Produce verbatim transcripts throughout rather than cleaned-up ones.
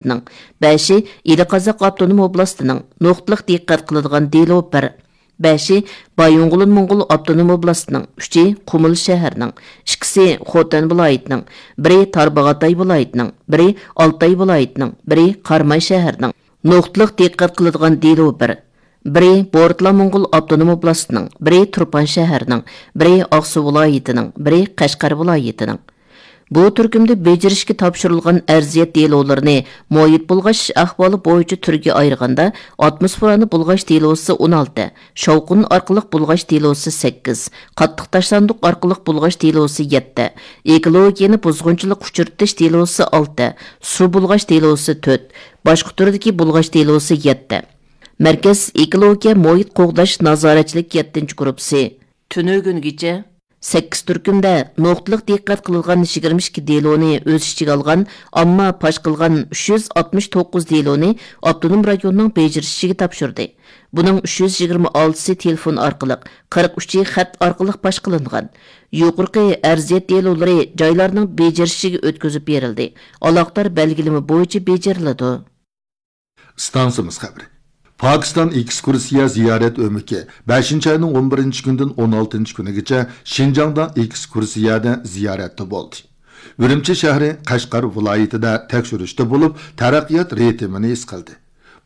ۋىلايىتىنىڭ، بەشى ئىلى قازاق ئاپتونوم ئوبلاستىنىڭ، نۇقتىلىق دىققەت قىلىدىغان دېلو بىر. بەشى بايىنغولىن موڭغۇل ئاپتونوم ئوبلاستىنىڭ، ئۈچى قۇمۇل شەھىرىنىڭ، ئىككىسى خوتەن ۋىلايىتىنىڭ، بىرى تارباغاتاي ۋىلايىتىنىڭ، بىرى ئالتاي ۋىلايىتىنىڭ، بىرى قاراماي شەھىرىنىڭ. نۇقتىلىق دىققەت قىلىدىغان دېلو بىر. بىرى بورتلا موڭغۇل ئاپتونوم ئوبلاستىنىڭ، بىرى تۇرپان شەھىرىنىڭ، بىرى ئاقسۇ ۋىلايىتىنىڭ، بىرى قەشقەر ۋىلايىتىنىڭ. بۇ تۈركۈمدە بېجىرىشكە تاپشۇرۇلغان ئەرزىيەت دېلولىرىنى مۇھىت بۇلغاش ئەھۋالى بويىچە تۈرگە ئايرىغاندا، ئاتموسفېرانى بۇلغاش دېلوسى ئون ئالتە، شاۋقۇن ئارقىلىق بۇلغاش دېلوسى سەككىز، قاتتىق تاشلاندۇق ئارقىلىق بۇلغاش دېلوسى يەتتە، ئېكولوگىيەنى بۇزغۇنچىلىققا ئۇچرىتىش دېلوسى ئالتە، سۇ بۇلغاش دېلوسى تۆت، باشقا تۈردىكى بۇلغاش دېلوسى يەتتە. مەركەز ئېكولوگىيە مۇھىت قوغداش نازارەتچىلىك يەتتىنچى گۇرۇپپىسى تۈنۈگۈنگىچە سەككىز تۈركۈمدە نۇقتىلىق دىققەت قىلىدىغان يىگىرمە ئىككى دېلونى ئۆز ئىچىگە ئالغان، ئامما پاش قىلغان ئۈچ يۈز ئاتمىش توققۇز دېلونى ئاپتونوم رايوننىڭ بېجىرىش ئىچىگە تاپشۇردى. بۇنىڭ ئۈچ يۈز يىگىرمە ئالتىسى تېلېفون ئارقىلىق، قىرىق ئۈچى خەت ئارقىلىق پاش قىلىنغان. يۇقىرىقى ئەرزىيەت دېلولىرى جايلارنىڭ بېجىرىش ئىچىگە ئۆتكۈزۈپ بېرىلدى، ئالاقىدار بەلگىلىمە بويىچە بېجىرىلىدۇ. ئىستانسىمىز خەۋىرى. پاكىستان ئېكسكۇرسىيە زىيارەت ئۆمىكى بەشىنچى ئاينىڭ ئون بىرىنچى كۈنىدىن ئون ئالتىنچى كۈنىگىچە شىنجاڭدا ئېكسكۇرسىيەدە زىيارەتتە بولدى. ئۈرۈمچى شەھىرى، قەشقەر ۋىلايىتىدە تەكشۈرۈشتە بولۇپ، تەرەققىيات رىتىمىنى ھېس قىلدى.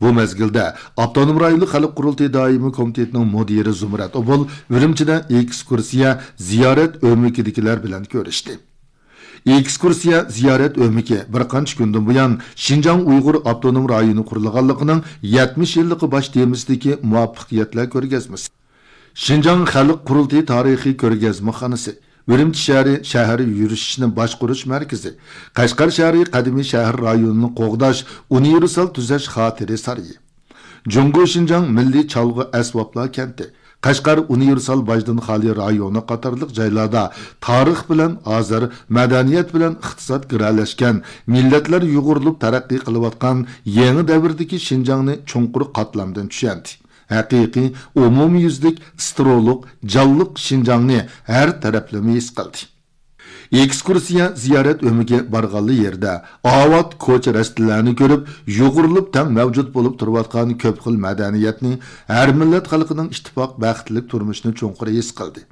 بۇ مەزگىلدە ئاپتونوم رايونلۇق خەلق قۇرۇلتىيى دائىمىي كومىتېتىنىڭ مۇدىرى زۇمرەت ئوبۇل ئۈرۈمچىدە ئېكسكۇرسىيە زىيارەت ئۆمىكىدىكىلەر بىلەن كۆرۈشتى. ئېكسكۇرسىيە زىيارەت ئۆمىكى بىر قانچە كۈندىن بۇيان شىنجاڭ ئۇيغۇر ئاپتونوم رايونى قۇرۇلغانلىقىنىڭ يەتمىش يىللىقى باش تېمىسىدىكى مۇۋەپپەقىيەتلەر كۆرگەزمىسى، شىنجاڭ خەلق قۇرۇلتىيى تارىخىي كۆرگەزمىخانىسى، ئۈرۈمچى شەھىرى شەھەر يۈرۈشۈشىنى باشقۇرۇش مەركىزى، قەشقەر شەھىرى قەدىمىي شەھەر رايونىنى قوغداش ئۇنىۋېرسال تۈزەش خاتىرە سارىيى، جۇڭگو شىنجاڭ مىللىي چالغۇ ئەسۋابلار كەنتى، قەشقەر ئۇنىۋېرسال باجدىن خالىي رايونى قاتارلىق جايلاردا تارىخ بىلەن ھازىر، مەدەنىيەت بىلەن ئىقتىساد گىرەلەشكەن، مىللەتلەر يۇغۇرۇلۇپ تەرەققىي قىلىۋاتقان يېڭى دەۋردىكى شىنجاڭنى چوڭقۇر قاتلامدىن چۈشەندى. ھەقىقىي ئومۇميۈزلۈك، سترولۇق، جانلىق شىنجاڭنى ھەر تەرەپلىمە ھېس قىلدى. ئېكسكۇرسىيە زىيارەت ئۆمىكى بارغانلا يېرىدە ئاۋات كوچا رەستىلەرنى كۆرۈپ، يۇغۇرۇلۇپ تەڭ مەۋجۇت بولۇپ تۇرۇۋاتقان كۆپ خىل مەدەنىيەتنى، ھەر مىللەت خەلقىنىڭ ئىتتىپاق، بەختلىك تۇرمۇشىنى چوڭقۇر ھېس قىلدى.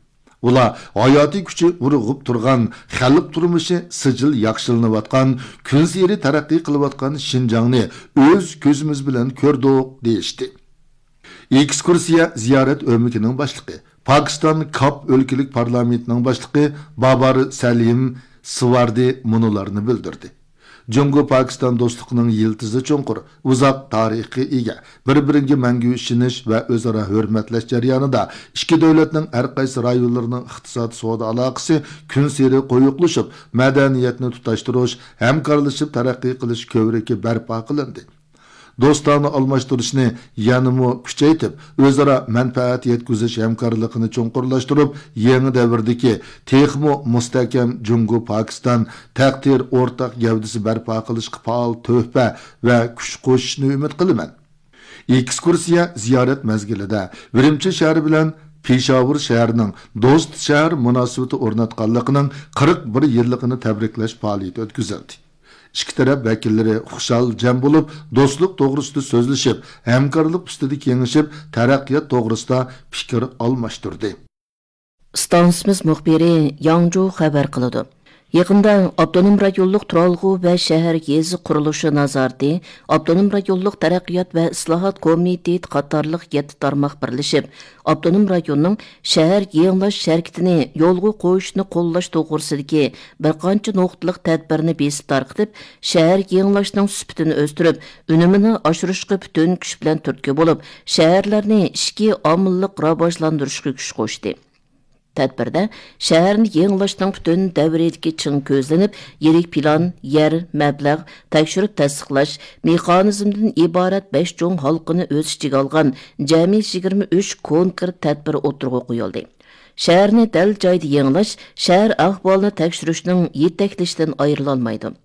ئۇلار ھاياتىي كۈچى ئۇرغۇپ تۇرغان، خەلق تۇرمۇشى سىجىل ياخشىلىنىۋاتقان، كۈنسېرى تەرەققىي قىلىۋاتقان شىنجاڭنى ئۆز كۆزىمىز بىلەن كۆردۇق، دېيىشتى. ئېكسكۇرسىيە زىيارەت ئۆمىكىنىڭ باشلىقى، پاكىستان كاپ ئۆلكىلىك پارلامېنتىنىڭ باشلىقى بابار سەلىم سىۋاردى مۇنۇلارنى بىلدۈردى. جۇڭگو پاكىستان دوستلۇقىنىڭ يىلتىزى چوڭقۇر، ئۇزاق تارىخقا ئىگە، بىر-بىرىگە مەڭگۈ ئىشىنىش ۋە ئۆزئارا ھۆرمەتلەش جەريانىدا ئىككى دۆلەتنىڭ ھەر قايسى رايونلىرىنىڭ ئىقتىساد، سودا ئالاقىسى كۈنسېرى قويۇقلىشىپ، مەدەنىيەتنى تۇتاشتۇرۇش، ھەمكارلىشىپ تەرەققىي قىلىش كۆۋرۈكى بەرپا قىلىندى. دوستانە ئالماشتۇرۇشنى يەنىمۇ كۈچەيتىپ، ئۆزئارا مەنپەئەت يەتكۈزۈش ھەمكارلىقىنى چوڭقۇرلاشتۇرۇپ، يېڭى دەۋردىكى تېخىمۇ مۇستەھكەم جۇڭگو پاكىستان تەقدىر ئورتاق گەۋدىسى بەرپا قىلىشقا پائال تۆھپە ۋە كۈچ قوشۇشنى ئۈمىد قىلىمەن. ئېكسكۇرسىيە زىيارەت مەزگىلىدە ئۈرۈمچى شەھىرى بىلەن پېشاۋۇر شەھىرىنىڭ دوست شەھەر مۇناسىۋىتى ئورناتقانلىقىنىڭ قىرىق بىر يىللىقىنى تەبرىكلەش پائالىيىتى ئۆتكۈزۈلدى. ئىككى تەرەپ ۋەكىللىرى خۇشال جەم بولۇپ، دوستلۇق توغرىسىدا سۆزلىشىپ، ھەمكارلىق ئۈستىدە كېڭىشىپ، تەرەققىيات توغرىسىدا پىكىر ئالماشتۇردى. ئىستانسىمىز مۇخبىرى ياڭجۇ خەۋەر قىلىدۇ. يېقىندا ئاپتونوم رايونلۇق تۇرالغۇ ۋە شەھەر يېزا قۇرۇلۇشى نازارىتى، ئاپتونوم رايونلۇق تەرەققىيات ۋە ئىسلاھات كومىتېتى قاتارلىق يەتتە تارماق بىرلىشىپ، ئاپتونوم رايوننىڭ شەھەر يېڭىلاش ھەرىكىتىنى يولغا قويۇشنى قوللاش توغرىسىدىكى بىر قانچە نۇقتىلىق تەدبىرنى بېسىپ تارقىتىپ، شەھەر يېڭىلاشنىڭ سۈپىتىنى ئۆستۈرۈپ، ئۈنۈمىنى ئاشۇرۇشقا پۈتۈن كۈچ بىلەن تۈرتكە بولۇپ، شەھەرلەرنى ئىچكى ئامىللىق راۋاجلاندۇرۇشقا كۈچ قوشتى. تەدبىردە شەھەرنى يېڭىلاشنىڭ پۈتۈن دەۋرىيىدىكى چىڭ كۆزلىنىپ، يىرىك پىلان، يەر، مەبلەغ، تەكشۈرۈپ تەستىقلاش مېخانىزمىدىن ئىبارەت بەش چوڭ ھالقىنى ئۆز ئىچىگە ئالغان جەمئىي يىگىرمە ئۈچ كونكرېت تەدبىر ئوتتۇرىغا قويۇلدى. شەھەرنى دەل جايىدا يېڭىلاش شەھەر ئەھۋالىنى تەكشۈرۈشنىڭ يېتەكلىشىدىن ئايرىلالمايدۇ.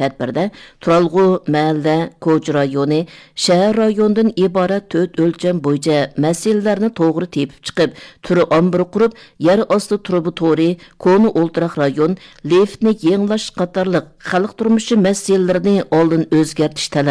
تەدبىردە تۇرالغۇ، مەھەللە، كوچا رايونى، شەھەر رايونىدىن ئىبارەت تۆت ئۆلچەم بويىچە مەسىلىلەرنى توغرا تېپىپ چىقىپ، تۈر ئامبىرى قۇرۇپ، يەر ئاستى تۇرۇبا تورى، كونا ئولتۇراق رايون، لىفتنى يېڭىلاش قاتارلىق خەلق تۇرمۇشى مەسىلىلىرىنى ئالدىن ئۆزگەرتىش تەلەپ